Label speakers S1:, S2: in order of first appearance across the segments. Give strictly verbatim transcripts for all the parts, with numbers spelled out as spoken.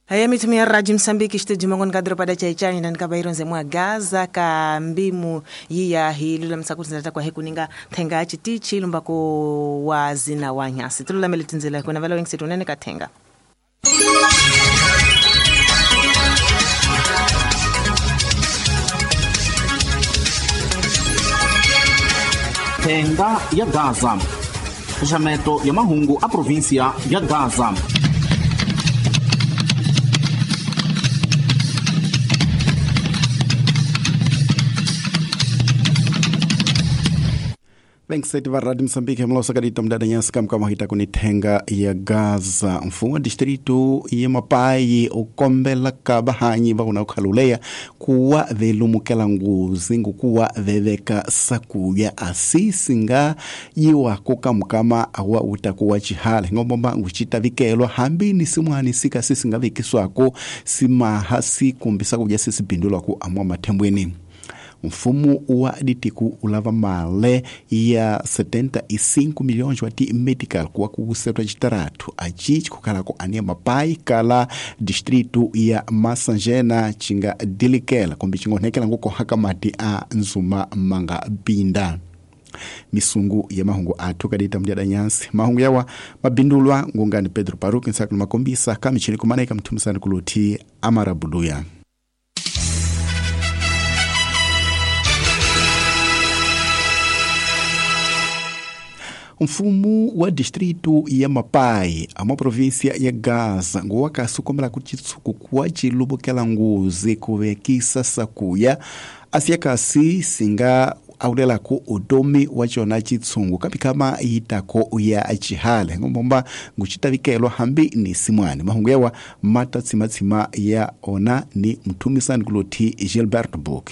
S1: Haya mitumia Radio Msambiki studio mangon kadro pada chaichani na nikabairo mwa Gaza ka mbimu yiya hilula msakuti nzata kwa hekuninga thenga chitichi lumbako wazina wanyasi tulula melitinzela kuna valo wengi setunene kathenga.
S2: Thenga ya Gaza, xaxameto ya mahungu a província ya Gaza.
S3: Venkseti va Radio Msambiki mlosa kadita mdada nyasi kamkama hita kunithenga ya Gaza. Mfumo wa distrito ya Mapai ukombela ka bahanyi va kuna ukhaluleya kuwa velumukela nguzi ngukuwa veveka sakuya asisi nga yiwa kukamkama awa utakuwa chihale ngombomba nguchitavikelwa hambi ni simwani sika sisi nga vikiswako simaha sikumbisa kuja sisi pindulwa amwa mathembweni. Mfumo wa ditiku ulava male ya setenta e cinco milhões wa ti medical kuwa kusetwa chitaratu achi kukhalako ania Mapai kala distrito ya Masanjena chinga dilikela kumbi chingonekela nguko hakamati a nzuma manga binda. Misungu ya mahungu athu kadita mdyada nyansi mahungu yawa mabindulwa ngungani Pedro Paruki nsakulu makombisa kamichini kumanaika mthumisani kuluthi amarabuluya. Mfumo wa distrito ya Mapai, a província ya Gaza, nguwakasukomela kuchitsuku kuwa chilubukela nguzi kuvekisa sakuya asiyakasi singa aulelako udomi wa chona chitsungu kapikama itako ya chihale ngombomba nguchitavikelwa hambi ni simwani mahungu yawa mata tsimatsima ya ona ni mthumisani kuluthi Gilbert Book.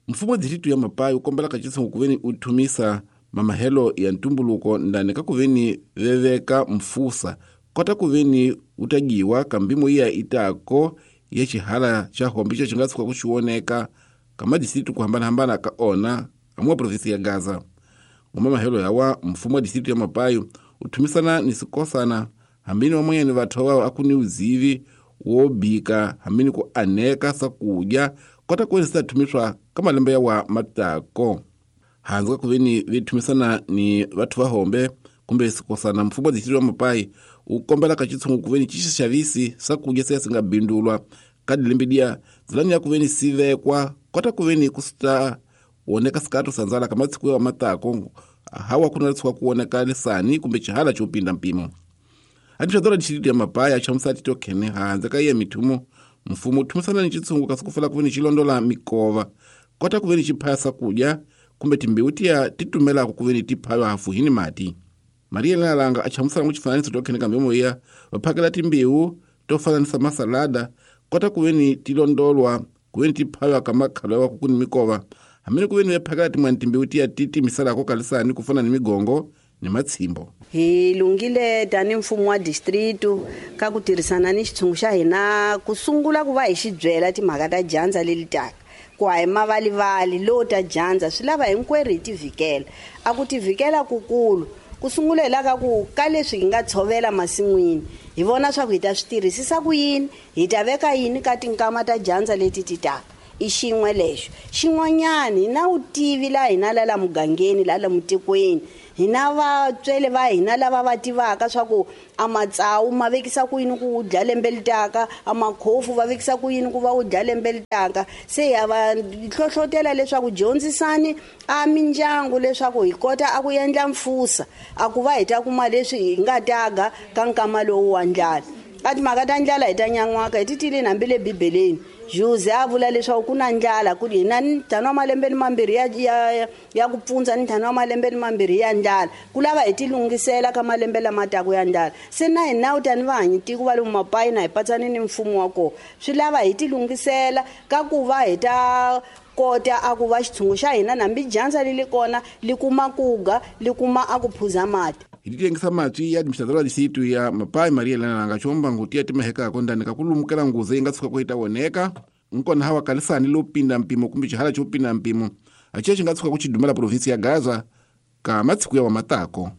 S4: Mfumo wa distrito ya Mapai ukombela kachitsungu kuveni uthumisa mamahelo ya ntumbuluko ndani kakuveni veveka mfusa kota kuveni utagiwa kambimo iya itako ya chihala cha hombi cho chingatsuka kuchiwoneka kama distritu kuhambanahambana ka ona amuwa provinsi ya Gaza. Ngoma mahelo yawa mfumo wa distritu ya Mapai uthumisana ni sikosana hambini wamwenyani vathu wao akuni uzivi wobika hambini ku aneka sakudya kota kuveni sitathumiswa kamalembe yawa matako. Hanzi kuveni vithumisana ni vathu vahombe kumbe sikosana mfumo wa distritu wa Mapai ukombela kachitsungu kuveni chixixavisi sakudya siya singabindulwa kadilembidia zilani ya kuveni sivekwa kota kuveni kusta woneka sikatu sanzala kama tsiku ya matako hawa kuna tswa kuoneka lisani kumbe chihala chopinda mpimo. Atichadora distritu ya Mapai achamusati tokhene hanzi kaiye mithumo mfumo uthumisana ni chitsungu kasikufela kuveni chilondola mikova kota kuveni chiphaya sakudya kumbe timbewu tiya titumelako kuveni tiphaywa hafuhini mati. Maria Lalanga achamusana muchifananiso tokhene kambemo iya vaphakela timbewu tofananisa masalada kota kuveni tilondolwa kuveni tiphaywa kamakhalo yawa kukuni mikova hamene kuveni vephakela timwani timbewu tiya titimisalako kalisani kufana ni migongo ni matshimbo.
S5: Hi lungile tani mfumo wa distrito ka ku tirhisana ni xitshungu xa hina ku sungula ku va hi xi byela timhaka ta dyandza leli taka ku a hi mavalivali lo ta dyandza swi lava hinkwerhu hi tivikela a ku tivikela kukulu ku sungula hi la ka ku ka leswi hi nga tshovela masin'wini hi vona swa ku hi ta swi tirhisisa ku yini hi ta veka yini ka tinkama ta dyandza leti ti taka i xin'we lexo xin'wanyani hi na vutivi laha hina la la mugangeni la la mutikweni hina vatswele va hina lava va tivaka swa ku a matsawu ma vekisa ku yini ku dya lembe li taka a makhofu va vekisa ku yini ku va u dya lembe li taka se ya va hlohlotela leswaku dyondzisani a mindyangu leswaku hi kota a ku endla mfusa a ku va hi ta kuma leswi hi nga taga ka nkama lowu wa ndlala a timhaka ta ndlala hi ta nyan'waka hi ti tileni hambi le bibeleni Jose a vula leswaku ku na ndlala ku hina ni ntlhanu wa malembe ni mambirhi ya ya ya ku pfundza ni ntlhanu wa malembe ni mambirhi ya ndlala ku lava hi tilunghisela ka malembe lama taka ya ndlala se na hina u tani vahanyi tiko va le Mapai na hi patsani ni mfumo wa kona swi lava hi tilunghisela ka ku va hi ta kota a ku va xitshungu xa hina nambi dyandza li li kona li kuma kuga li kuma a ku phuza mati.
S4: Hi titengisa matwi ya administradora distritu ya Mapai Maria Elena Chomba ngutia timahekako ndani kakulumukela nguze yi nga tshuka ku yi ta woneka nkona hawa kalisani lo pinda mpimo kumbe chihala cho pinda mpimo achiya xi nga tshuka ku xi dumela provinsi ya Gaza ka matsiku ya wa matako.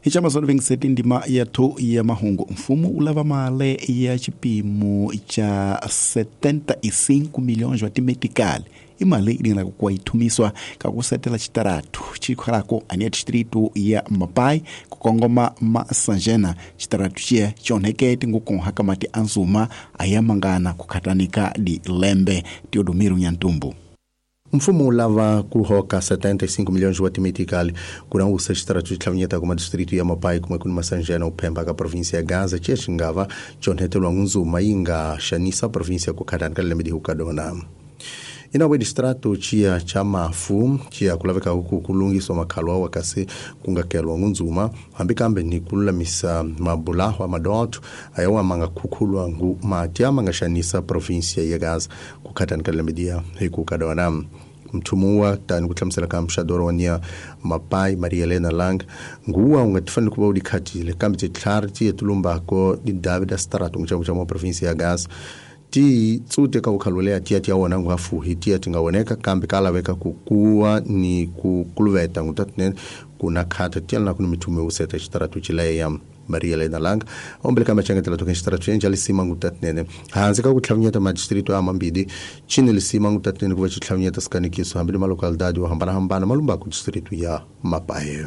S3: Hi chamazolo vingiseti ndima ya thu ya mahungu mfumo u lava mali ya xipimo xa setenta e cinco milhões wa timetikali i mali leyi nga ku yi ka ku setela xitaratu xikhalako ania distrito ya Mapai ku kongoma Masanjena xitaratu xiya xonheke tingukonha ka mati anzuma aya mangana ku khatanika di lembe Teodomiro Nyantumbu.
S6: Mfumo lava ku hoka setenta e cinco milhões de timetikali kurang usa xitaratu xitlhavinyeta kuma distrito ya Mapai kuma kuni Masanjena uphemba ka província ya Gaza xingava xonhetelwa ngunzuma yi nga xanisa província ku khatani ka lembe dihukadona. Inawe distrato chia cha mafu chia kulaveka huku kulungiswa makhalwa wakasi kungakelwa ngunzuma hambi kambe ni kululamisa mabulaho amadoto ayawa manga khukhulwa ngu mati amangashanisa província ya Gaza kukhatani ka lembe dia hikukadona. Mthumuwa tani kuhlamusela ka mxadoro wa Mapai Maria Elena Lang nguwa ungatifani kuba udikhatile kambe titlhari ti etulumbako di David Strato ngichamcha mo província ya Gaza ti tsute ka ukhalolea tia tia wona ngafuhi tia tingawoneka kambe kalaveka kukuwa ni kukuluveta ngutatne kuna khata tia na kuni mithume useta xitaratu chileya Maria Elena Lang ombele kamba changetela token xitaratu enja lisima ngutatnene hansi ka kutlhavinyeta madistrito ya mambili chini lisima ngutatnene kuva xitlhavinyeta sikanikiso hambi ma localidade yo hambanahambana malumba ku distrito ya Mapai.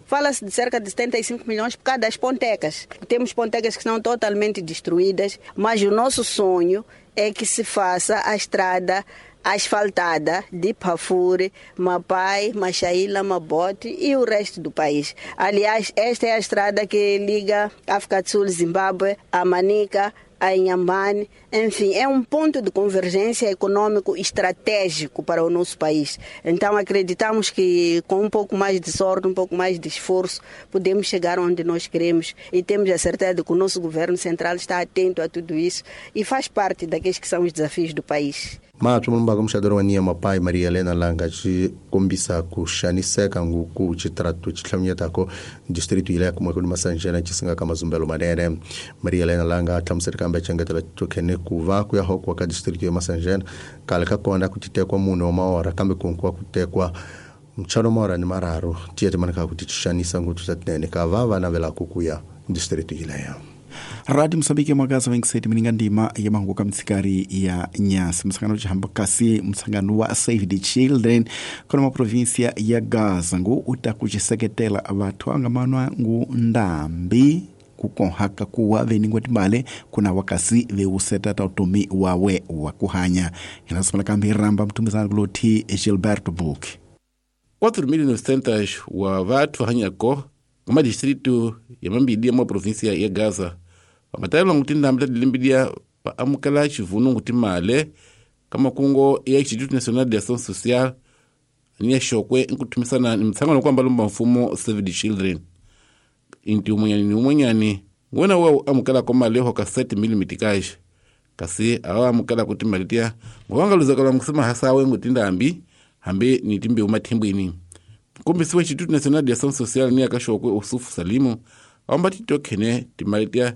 S5: Fala-se de cerca de setenta e cinco milhões por causa das pontecas. Temos pontecas que estão totalmente destruídas, mas o nosso sonho é que se faça a estrada asfaltada de Pafuri, Mapai, Machaíla, Mabote e o resto do país. Aliás, esta é a estrada que liga África do Sul, Zimbábue, a Manica, a Inhambane, enfim, é um ponto de convergência econômico estratégico para o nosso país. Então acreditamos que com um pouco mais de sorte, um pouco mais de esforço, podemos chegar onde nós queremos e temos a certeza de que o nosso governo central está atento a tudo isso e faz parte daqueles que são os desafios do país.
S6: Mathu mulumba mxadoro wa nia Mapai Maria Elena Langa xi kombisa ku xaniseka nguku xitaratu xitlhavinyetako distrito ile kuma ku Masanjena xisinga ka mazumbelo manene. Maria Elena Langa a hlamusela kambe xengetela tokhene ku va ku ya hokwa ka distrito ya Masanjena kale ka kona ku titekwa munhu wa maora kambe kunkuwa ku tekwa mchano maora ni mararu tiya timanaka ku tixanisa nguthu tatinene ka va va navelaka ku ya distrito ileyo.
S3: Radio Mosambiki mwagaza wengiseti mininga ndima ya mahungu ka mitsikari ya nyasi msangano chihamba kasi msangano wa Save the Children kono ma província ya Gaza ngu utakuchiseketela vathu angamanwa ngu ndambi kukonhaka kuwa veningwa timale kuna wakasi veuseta tautomi wawe wa kuhanya inasimala kambi ramba mtumizana kuloti Gilberto Book
S4: quatro mil e novecentos wa vathu hanyako kuma distrito ya mambili ya mwa província ya Gaza vamatayelwa nguti ndambi ta dilimbidia va amukela xivunu nguti male ka makungo ya Instituto Nacional de Ação Social ni ya Xokwe nkuthumisana ni mtshangano kwamba lumba mfumo Save the Children inti umwenyani ni umwenyani ngwena wa amukela ko male ho ka sete mil mitikaji kasi awa amukela kuti mali tiya ngwangaluzakala nkusema hasawe nguti ndambi hambi ni timbe umathimbwini nkombisi wa Instituto Nacional de Ação Social ni ya ka Xokwe Usufu Salimu amba titokhene timali tiya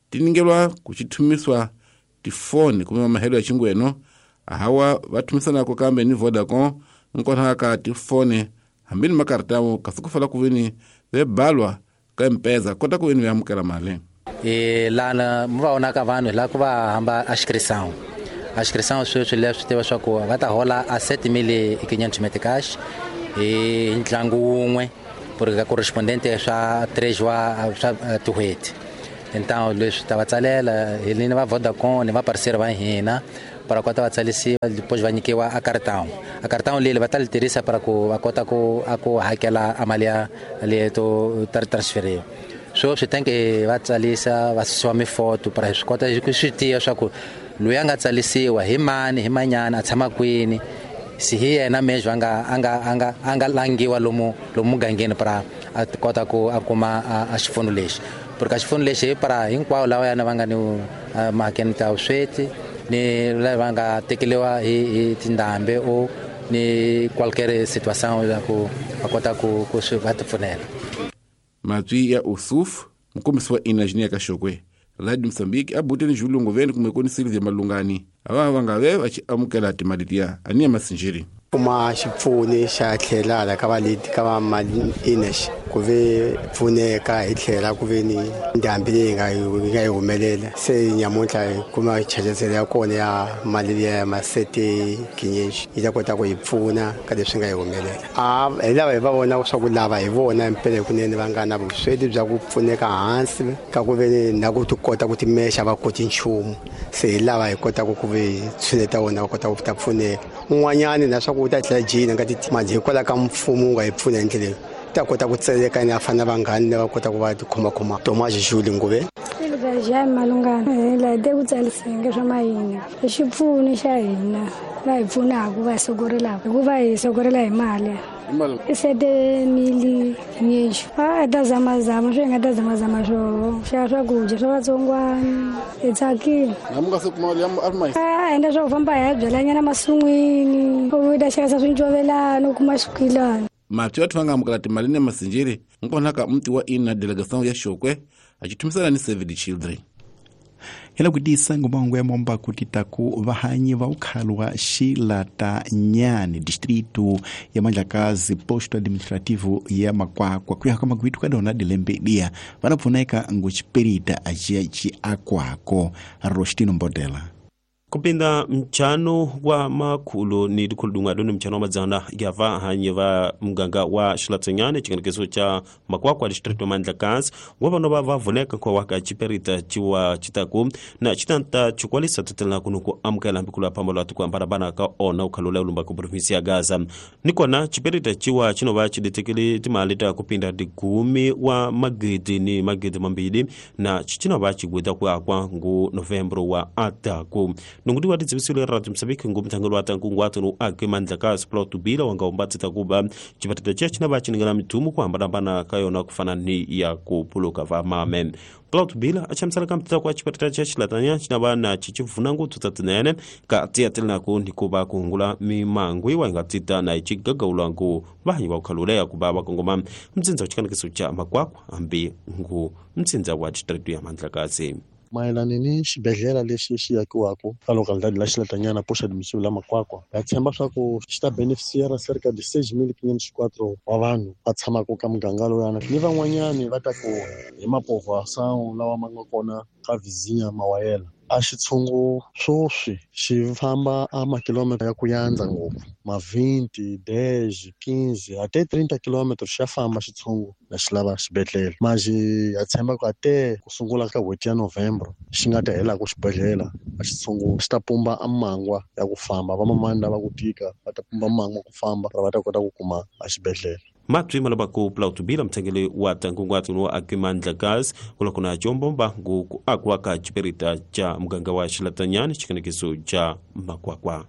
S4: tiningelwa kuchithumiswa tifoni kumema mahelo ya chingweno ahawa vathumisanako kambe ni Vodacom nkonha ka tifoni hambi ni makartamo kasi kufala kuveni vebalwa ka M-Pesa kota kuveni veamukela mali
S7: e lana muvaona ka vanhu la ku va hamba a inscrição a inscrição sweswi leswi tiva swa ku va ta hola a sete mil e quinhentos meticais e ntlangu wun'we porque ka correspondente swa três wa swa tin'hweti. Então leswi ta va tsalela hi ni va Vodacom ni va parceiro va hina para kota va tsalisiwa depois va nyikiwa a cartão a cartão leli va ta li tirhisa para ku va kota ku a ku hakela a mali ya leto transferir so swi tem que va tsalisa va susiwa mifoto para swi kota ku swi tiya swa ku loyi a nga tsalisiwa hi mani hi manyana a tshama kwini si hi yena mesmo a nga a nga a nga a nga langiwa lomu lomu mugangeni para a kota ku a kuma a xipfuno lexi porque a xipfuno lexi para hinkwavo lava yana va nga ni mahakeni ta vusweti ni lava nga tekeliwa hi hi tindhambi o ni qualquer situação ya ku va kota ku ku swi va tipfunela.
S4: Matwi ya Usuf mukombisi wa Inajini ya Kaxokwe Radio Mosambiki abuteni Julungu veni kumwe koni Silvia Malungani ava va nga ve va xi amukela timali tiya aniya masinjiri
S8: kuma xipfuni xa tlhelala ka valeti ka va mali inex ku ve pfuneka hi tlhela ku ve ni ndhambi leyi nga yi nga yi humelela se nyamuntlha hi kuma chajezelo ya kona ya mali liya ya masete kinyeji yi ta kota ku hi pfuna ka leswi nga yi humelela a hi lava hi va vona swa ku lava hi vona mpela kunene va nga na vusweti bya ku pfuneka hansi ka ku ve na ku ti kota ku timexa va koti nchumu se hi lava hi kotaka ku ve tshuneta vona va kota ku ta pfuneka un'wanyani na swa ku u ta tlhela jina nga ti manje hikwalaho ka mfumo wu nga hi pfuna hi ndlela ta kota ku tseleka ni afana vanghani va kota ku va tikhomakhoma Thomas Julie Nguve
S9: ja malungana la de ku tsalisenge swa mayini i xipfuno xa hina la hi pfunaka va sokorelaka hikuva hi sokorela hi mali i sete mili nyexo a ta zamazama swi nga ta zamazama swo xa swakudya swa vatsongwana hi tsakile a endla swa ku famba hi ya byalanyana masin'wini u ta xavisa swincovelana u kuma swikwilana
S4: mati wa thwanga amukela timali ne masinjiri nkonaka mti wa ina delegation ya Shokwe achithumisana ni Save the Children
S3: hela kudisa ngomahungu ya momba kuti taku vahanyi va ukhalo wa Xilatanyani distrito ya Mandlakazi posto administrativo ya Makwakwa kuya ka magwitu ka dona dilembedia vana pfuneka nguchiperita achiya chi akwako Rostino Mbodela
S10: kupinda mchano wa makhulu ni dikhuludunga doni mchano wa madzana ya vahanyi va muganga wa Xilatanyani chikanekeso cha Makwakwa distrito ya Mandlakazi wa vano va va vuneka kwa waka chiperita chiwa chitaku na chitanta chikwalisa tetela kuno ku amukela mbikulu ya pambalo atu kuambarabana ka ona ukhalula ulumba ku provinsi ya Gaza nikona chiperita chiwa chinova chiditekele timali ta kupinda digumi wa magidi ni magidi mambili na chichinova chigwida ku akwa ngu Novembro wa ataku nunguti wa tidzivisile radio Mozambique ngu mthangelo wa tankungu atunu ake Mandlakazi plot bila wanga umbatita kuba chipatita cha chinava chiningana mithumu kuhambanambana ka yona kufana ni ya kupuluka va mame plot bila achamsala ka kwa chipatita cha Xilatanya chinava na chichivuna nguthu tatinene ka tiatelinaku nikuva kuhungula mimangu iwa ingatita na ichigagaulwa ngu vahanyi va ukhaluleya kuva vakongoma mtsindza wa chikanekiso cha Makwakwa hambi ngu mtsindza wa distrito ya Mandlakazi
S11: mayelana ni xibedhlele lexi xi akiwaka ka localidade la Xilatanyana posto administrativo la Makwakwa ha tshemba swa ku xi ta beneficiara cerca de seis mil quinhentos e quatro wa vanhu va tshamaka ka muganga lowuyana ni van'wanyani va ta ku hi mapovoação lawa ma nga kona ka vizinha mawayela a xitshungu swoswi xi famba a makilomita ya ku yandza ngopfu ma vinte, dez, quinze até trinta quilômetros xa famba xitshungu na xi lava xibedhlele maji ha tshemba ku ate ku sungula ka n'hweti ya Novembro xi nga ta helaka xibedhlele a xitshungu xi ta pumba a mangwa ya ku famba vamamani lava ku tika va ta pumba mangwa ku famba va ta kota ku kuma a xibedhlele
S10: matwi malabaku plautubila mthengele wa tankungu wa ake Mandlakazi kulakuna chombomba ngu ku akwa ka chiperita cha muganga wa Xilatanyani chikanekiso cha Makwakwa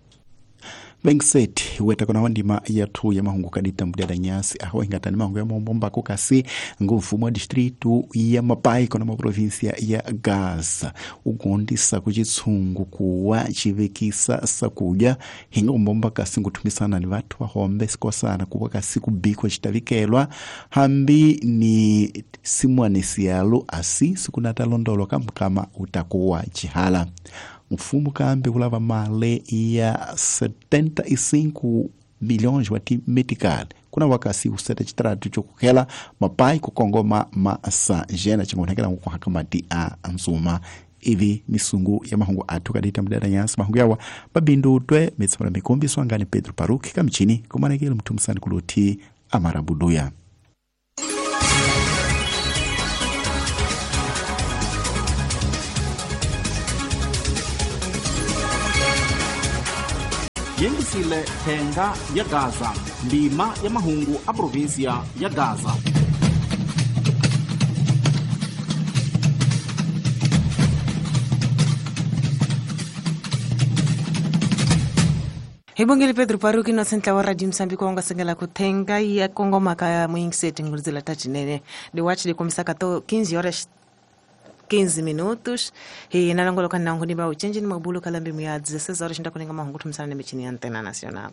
S3: Benset weta kona wandima ya tu ya mahungu kadita mudada nyasi aho ingatani mahungu ya mombomba kukasi ngumfumo wa distrito ya Mapai kona ma provincia ya Gaza ugondisa kuchitsungu kuwa chivekisa sakuja hinga umbomba kasi nguthumisana ni vathu vahombe sikosana kuwa kasi kubikwa chitavikelwa hambi ni simwanesialo asi sikunatalondolo kamkama utakuwa chihala mfumo kambe kulava male ya setenta e cinco milhões wa medical kuna wakasi useta chitratu chokukhela mapai kukongoma masanjena chingonekela nkuhakamati a nzuma ivi misungu ya mahungu athu kadita mudada nyasi mahungu yawa mabindu twe mitsamala mikombi swangani Pedro Paruki kamchini kumanekele mthumisani kuluthi amarabuduya
S2: Yengisile thenga ya Gaza ndima ya mahungu a provinsia ya Gaza
S1: Hibongele Pedro Paruki no sentla wa radio Mozambique wanga sengela kuthenga ya kongoma ka muingiseti ngulizela tachinene de watch de komisa kato quinze horas quinze minutos e na langolo kana ngoni ba uchenji ni mabulo kalambi mu ya dezesseis horas ndakuninga mahungu thumisana ne michini ya Antena Nacional.